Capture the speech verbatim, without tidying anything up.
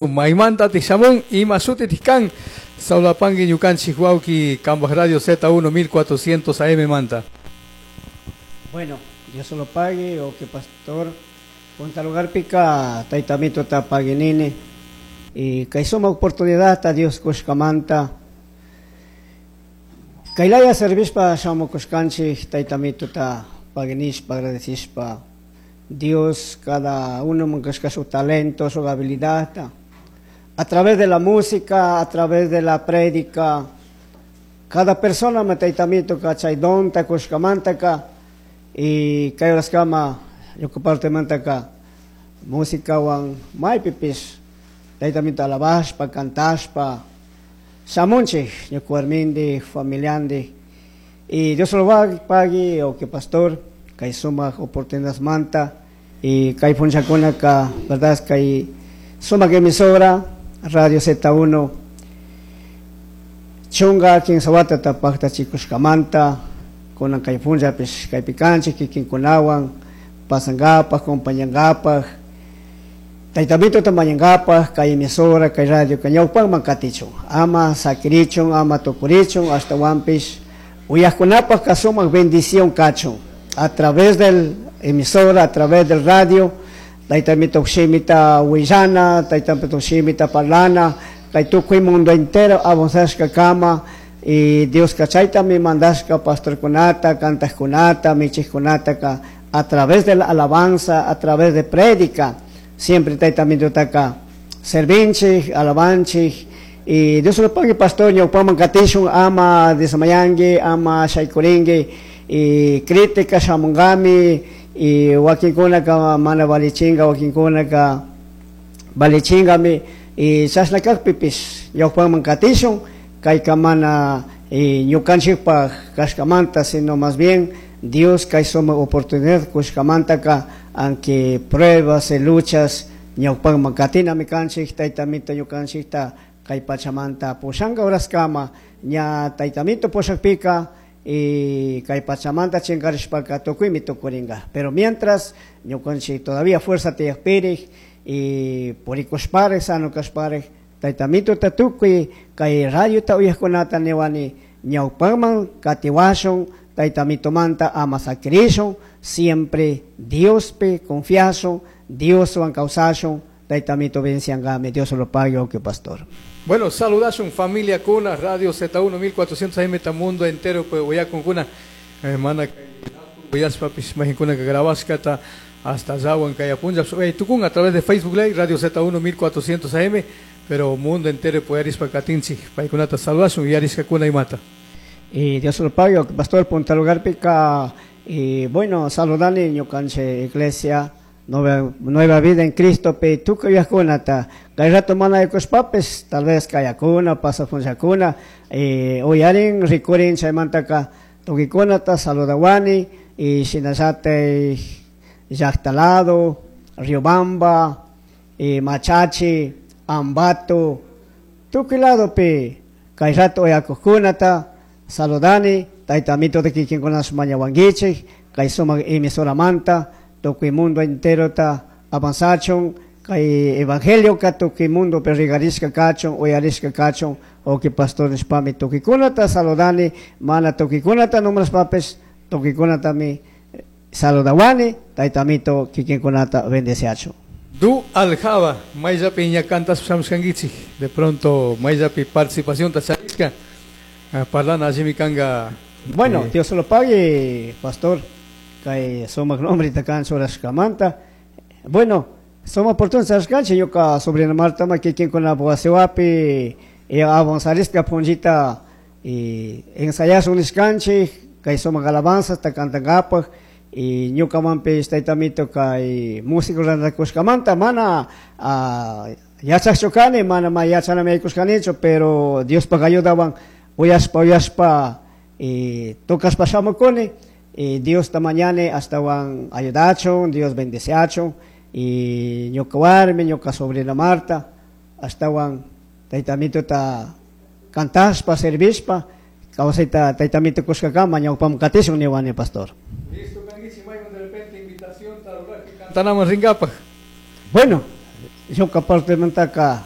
Maymanta tishamun ima shuti kan Saulapangui ñukanchik wawki kambaj Radio Z uno mil cuatrocientos A M manta. Bueno, Dios lo pague o que pastor punta lugarpika taytamituta paguinini y kay sumak oportunidad ta Dios kushkamanta kaylaya servishpa shamukushkanchik taytamituta paguinishpa, agradecishpa. Dios cada uno kushka su talento, su habilidad a través de la música, a través de la prédica. Cada persona ma taytamituka chay donta kushkamantaka y kay horaskama ñuka partemantaka músicawan maypipish taytamito alabashpa, cantashpa shamunchik ñuka warmindi, familiandi y Dios lo pague o que pastor kay sumak oportunidadmanta y kay punllakunaka, verdad, kay sumak emisora Radio Z uno chunka kimsa watata paktachikushkamanta kunan kay punllapish kaypi kanchik kikinkunawan pasankapak, acompañankapak, taytamituta mañankapak kay emisora, kay radio kay ñawpakman katichun, ama sakirichun, ama tukurichun, ashtawanpish uyajkunapak ka sumak bendición kachun a través del emisora, a través del radio, taytamito shimita willana, taytamito shimita parlana, kay tukuy mundo entero avanzashka kama y Dios kachaytami mandashka pastorkunata, kantajkunata, michijkunata ka a través de la alabanza, a través de prédica, siempre taytamitutaka servinchik, alabanchik y Dios lo pague, pastor, ñawpaman katishun, ama desmayangue, ama shaykuringue y crítica shamunkami y wakinkunaka mana valichinga, wakinkunaka valichingami y chashna kakpipish ñawpaman katishun. Kayka mana y ñukanchikpaj kashkamanta, sino más bien Dios kay sumak oportunidad kushkamantaka, aunque pruebas y luchas, ñawpakman katinami kanchik. Taytamito ñukanchikta kay pachamanta pushanka horaskama ña taytamito pushakpika y kay pachamanta chinkarishpaka tukuymi tukurinka, pero mientras ñukanchik todavía fuerza tiyakpirik y purikushparik, sano kashparik, taytamituta tukuy kay radiota uyajkunata niwani ñawpakman katiwashun, taytamitumanta ama sakirishun, siempre Diospi confiashun, Dioswan kawsashun, taytamito bendiciankami. Dios lo pague, que pastor. Bueno, saludashun familia kuna Radio Z uno mil cuatrocientos A M mundo entero pues uyakunkuna hermana uyashpapis majinkuna que grabashkata hasta Zawan Kayapunja tukun a través de Facebook Live Radio Z uno mil cuatrocientos A M, pero mundo entero puede arispa katinchik paykunata saludashun y arishkakuna imata. Y Dios lo pague, pastor. Punta lugarpika y bueno, saludani ñukanchik iglesia Nueva, Nueva Vida en Cristo pe tukuy uyajkunata kay rato mana yaykushpapis tal vez kayakuna pasa punllakuna y uyarin rikurin chaymantaka tukuykunata saludawani y shinallatik llakta lado Riobamba y Machachi, Ambato, tukuy lado pi kay rato uyakujkunata saludani. Taytamito de kikinkunash mañawankichik kay sumak emisoramanta tukuy mundo entero ta avanzachun kay evangelio ka tukuy mundo pe rigarishka kachun, uyarishka kachun o que pastor nishpami tukuykunata saludani mana tukuykunata nombrashpapis tukuykunatami saludawani. Taytamito kikinkunata bendeciachun. Du Aljaba, mayllapi ña cantas shamushkankichik de pronto mayllapi participación ta charishka parlana allimi kanga. Bueno, eh, Dios lo pague, pastor, kay sumak nombre kan churashkamanta. Bueno, sumak oportunidad charishkanchik ñuka sobrina Marta ma kikinkuna wasiwapi y avanzarishka punllita y ensayashun nishkanchik kay sumak alabanza ta cantankapak y ñukamanpish taytamito kay músico rantakushkamanta mana uh, yachakchu kani, mana ma yachanami yaykushkanichu, pero Diospak ayudawan uyashpa uyashpa y tocashpa shamukuni y Dios ta mañani ashtawan ayudachun, Dios bendeciachun y ñuka warmi, ñuka sobrina Marta ashtawan taytamituta cantashpa, servishpa kawsayta taytamito kushkakama ñawpaman katishun niwani, pastor. Listo kankichik mayman de repente invitación tarurak cantanamos rinkapaj. Bueno, Ñuka partemantaca